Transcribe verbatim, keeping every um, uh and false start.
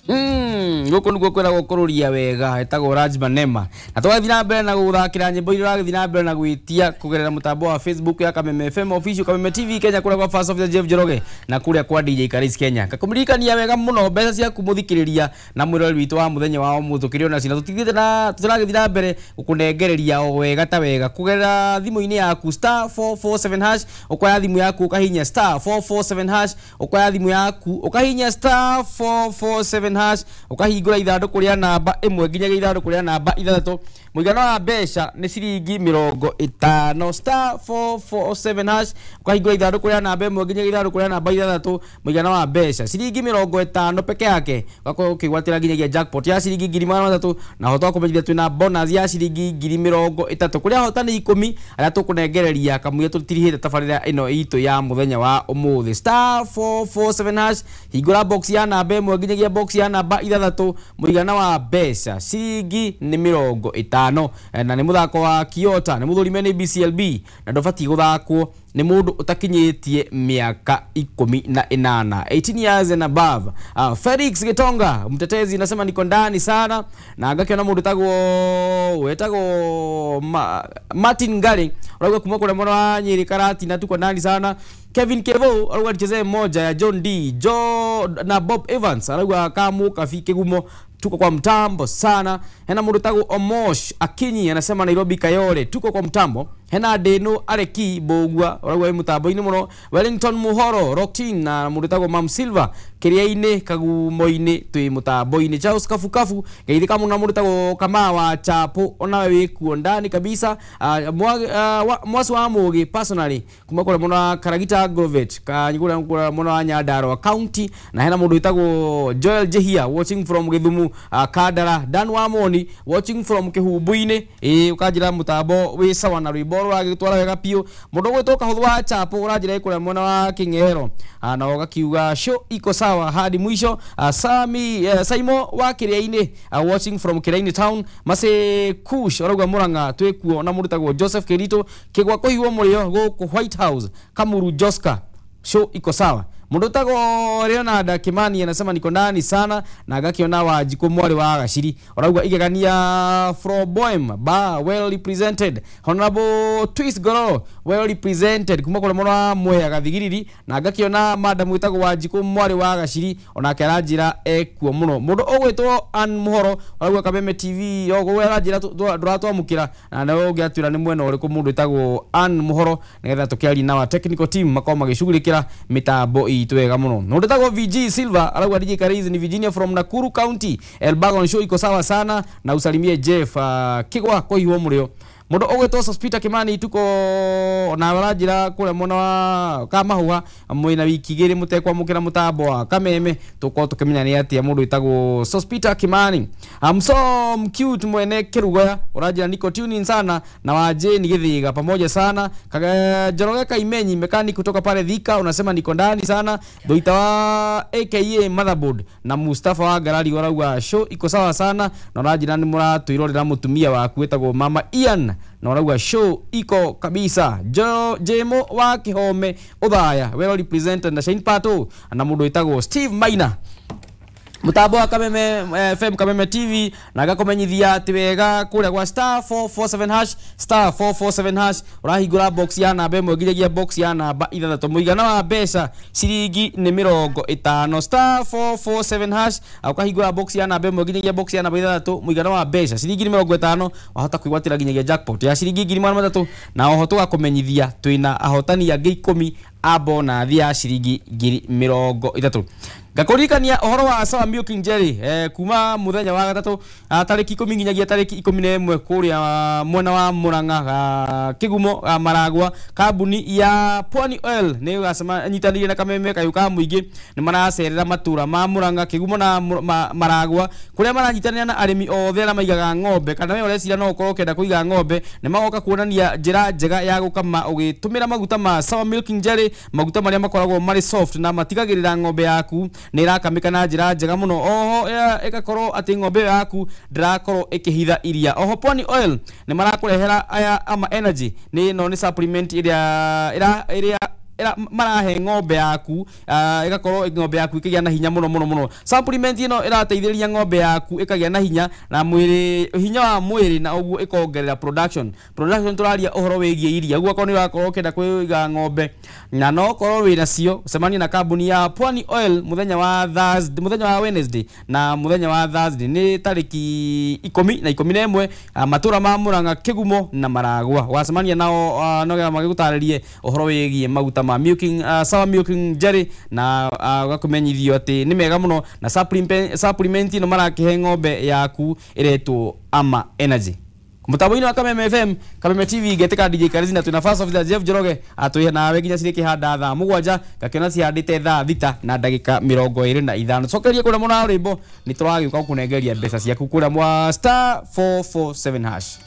Mm, guku niguo kwiragwo kururia wega etagwo Raj Manema na twagathiĩ na mbere na guthakira nyimbo iria ũragĩthiĩ na mbere na gwĩtia kugerera mutambo wa Facebook ya Kameme F M Official, Kameme T V Kenya, kuria kwa First Officer Jeff Njoroge na kuria kwa D J Karis Kenya. Ngakumririkania wega muno mbeca ciaku muthikiriria na mwirori witũ wa muthenya wa ũmũthĩ ũkĩrĩ ona cina tũtigĩte na tũragĩthiĩ na mbere gũkũnengereria o wega ta wega kugerera thimũ-inĩ yaku star four four seven hash, ũkoya thimũ yaku ũkahihinya star four four seven hash, ũkoya thimũ yaku ũkahihinya star four four seven hash, ukahingura ithandũkũ rĩa namba ĩmwe nginyagia ithandũkũ rĩa namba ithathatũ. Mũigana wa mbeca nĩ ciringi mĩrongo ĩtano. Star four four seven hash, ukahingura ithandũkũ rĩa namba ĩmwe nginyagia ithandũkũ rĩa namba ithathatũ. Mũigana wa mbeca ciringi mĩrongo ĩtano peke yake, ugakorwo ũkĩgwatĩra nginyagia jackpot ya ciringi ngiri magana matatũ, na hota kũmenyithia twĩna bonus ya ciringi ngiri mĩrongo ĩtatũ kũrĩa ahotani ikũmi arĩa tũkũnengereria kamũira tũtirihĩte tabarĩra ĩno itũ ya mũthenya wa ũmũthĩ. Star four four seven hash, hingũra box ya namba ĩmwe nginyagia box ya namba ithathatũ. Mũigana wa mbeca ciringi nĩ mĩrongo ĩtano, na nĩ mũthako wa Kiota, nĩ mũthũrime nĩ B C L B, na ndũbatiĩ gũthakwo nĩ mũndũ ũtakinyĩtie mĩaka ikũmi na ĩnana, eighteen years and above. Uh, Felix Gitonga mtetezi nasema niko ndani sana, na ngakiona mũndũ tagwo wetagwo Ma, Martin Ngari urauga kuma kũrĩa mwena wa Nyeri Karati na tuko ndani sana. Kevin Kevo arauga nichezee moja ya John D Joe na Bob Evans arauga kamu kafi kigumo tuko kwa mtambo sana. Hena mũndũ tagwo Omosh Akinyi anasema Nairobi Kayole tuko kwa mtambo. Hena Deno Areki Bogwa urauga mutambo-inĩ mũno. Wellington Muhoro Rocktin na mũndũ tagwo Mam Silva Kĩrĩa-inĩ Kagumo-inĩ twĩ mutambo-inĩ. Charles Kafukafu geithĩka mũno na mũndũ tagwo Kamawa Chapo onawe wĩkuo ndani kabisa. Uh, mwa, uh, mwasi wa Mũgĩ personally kuma kũrĩa mũno wa Karagita Grovet kanyigura kũrĩa mũno wa Nyandarua County, na hena mũndũ wĩtagwo Joel Jehia watching from Githumu uh, Kandara. Dan Wamoni watching from Kĩhumbu-inĩ ĩ ũkanjĩra mũtambo wĩ sawa na rwĩmbo rũragĩtwara wega biũ. Mũndũ ũgwĩtwo Kahũthũ wa Chapo ũranjĩra ĩ kũrĩa mwena wa Kĩng'ero na ũgakiuga show iko sawa hadi mwisho. Uh, Sami uh, Saimo wa Kĩrĩa-inĩ uh, watching from Kĩrĩa-inĩ town. Mase Kush ũrauga Mũrang'a twĩkuo na mũndũ tagwo Joseph Kirito Kĩgwa kũhihwo mũrĩo gũkũ White House Kamuru Joska show iko sawa. Mũndũ tagwo Leonard Kimani anasema niko ndani sana, na agakiona Wanjikũ mwarĩ wa Gaciri ũrauga igegania from Boem ba well represented. Honorable Twist Goro well represented kuma kũrĩa mwena wa Mwea Gathigiriri, na agakiona madam wĩtagwo Wanjikũ mwarĩ wa Gaciri onake aranjĩra ekuo mũno. Mũndũ ũgwĩtwo Ann Muhoro ũrauga Kameme T V oguo aranjĩra ndũratwamũkĩra, na nawe ũngĩatwĩra nĩ mwena ũrĩkũ mũndũ wĩtagwo Ann Muhoro nĩgetha tũkĩarie na wa technical team makorwo magĩcugurĩkĩra mĩtambo itũ wega mũno. Mũndũ wĩtagwo V G Silva arauga D J Karizi ni Virginia from Nakuru County Elbagon show iko sawa sana, na usalimie Jeff uh, Kigwa kũhihwo mũrĩo. Mũndũ ũgwĩtwo Sospita Kimani tuko na aranjĩra kũrĩa mwena wa Kamahũa mwĩna wiki igĩrĩ mũtekwamũkĩra mũtambo wa Kameme tũkorwo tũkĩmenya nĩ atĩa mũndũ wĩtagwo Sospita Kimani. I'm so cute mwene Kĩrugoya ũranjĩra niko tuning sana na wa Jane Githiga pamoja sana. Njoroge Kaimenyi mechanic kutoka pale Thika unasema niko ndani sana. Doita wa A K A Motherboard na Mustafa wa Garali ũrauga show iko sawa sana, na ũranjĩra nĩ mũratwĩrorera mũtumia waku wĩtagwo Mama Ian na ũrauga show iko kabisa. Jo Jemo wa Kihome Uthaya well represented na Shane Pato na mũndũ wĩtagwo Steve Maina. Mutambo wa Kameme F M Kameme T V na gakumenyithia ati wega kuria gwa star four four seven hash star four four seven hash urahingura box ya namba ĩmwe nginyagia box ya namba ithathatũ. Mũigana wa mbeca ciringi nĩ mĩrongo ĩtano. Star four four seven hash ukahingura box ya namba ĩmwe nginyagia box ya namba ithathatũ. Mũigana wa mbeca ciringi nĩ mĩrongo ĩtano, wahota kwĩgwatĩra nginyagia jackpot ya ciringi ngiri magana matatũ, na oho tũgakũmenyithia twĩna ahotani angĩ ikũmi a bonathi ya ciringi ngiri mĩrongo ĩtatũ. Ngakuririkania ũhoro wa Sawa Milking Jelly eh, kuma muthenya wa gatatu tariki ikumi nginyagia tariki ikumi na ĩmwe kuria mwena wa Murang'a Kigumo Maragwa. Kambuni ya Pwani Oil nĩ ĩgacema nyitanĩire na Kameme kayũ ka mũingĩ nĩ maracerera matura ma Murang'a Kigumo na Maragwa kuria maranyitanĩra na arĩmi othe arĩa maigaga ng'ombe, kana we ũreciria no ũkorwo ũkĩenda kũiga ng'ombe, nĩ magoka kuonania njĩra njega ya gũkama ũgĩtũmĩra maguta ma Sawa Milking Jelly, maguta marĩa makoragwo marĩ soft na matigagĩrĩra ng'ombe yaku nĩ ĩrakamĩka na njĩra njega mũno. Oho ĩgakorwo atĩ ng'ombe yaku ndĩrakorwo ĩkĩhitha iria. Oho Pwani Oil nĩ marakũrehera aya ama energy, nĩ ĩno nĩ supplement ĩrĩa ĩrĩa marahe ng'ombe yaku ĩgakorwo ng'ombe yaku ĩkĩgĩa na hinya mũno mũno mũno. Supplement ĩno ĩrateithĩrĩria ng'ombe yaku ĩkagĩa na hinya na mwĩrĩ, hinya wa mwĩrĩ, na ũguo ĩkongerera production. Production tũraria ũhoro wĩgiĩ iria. Ũguo akorwo nĩ ũrakorwo ũkĩenda kũiga ng'ombe na no korwo wĩna cio, cemania na kambuni ya Pwani Oil mũthenya wa Thursday, mũthenya wa Wednesday na mũthenya wa Thursday nĩ tarĩki ikũmi na ikũmi na ĩmwe, matũra ma Murang'a, Kĩgumo na Maragwa. Wacemania nao no getha magĩgũtarĩrie ũhoro wĩgiĩ maguta ma milking, uh, sour milking jelly, na ũgakũmenyithio uh, atĩ nĩ mega mũno, na supplement supplement ĩno marakĩhe ng'ombe yaku ĩretwo Ama Energy. Mũtambo-inĩ wa Kameme F M, Kameme T V, ngetĩka D J Karizina, twĩna First Officer Jeff Njoroge atwĩhe nawe nginya cirĩkĩhanda thaa mũgwanja, ngakĩona cihandĩte thaa thita na ndagĩka mĩrongo ĩrĩ na ithano. Cokeria kũrĩa mũna rwĩmbo, nĩ tũragĩũka gũkũnengeria mbeca ciaku kũrĩa mwa star four four seven hash.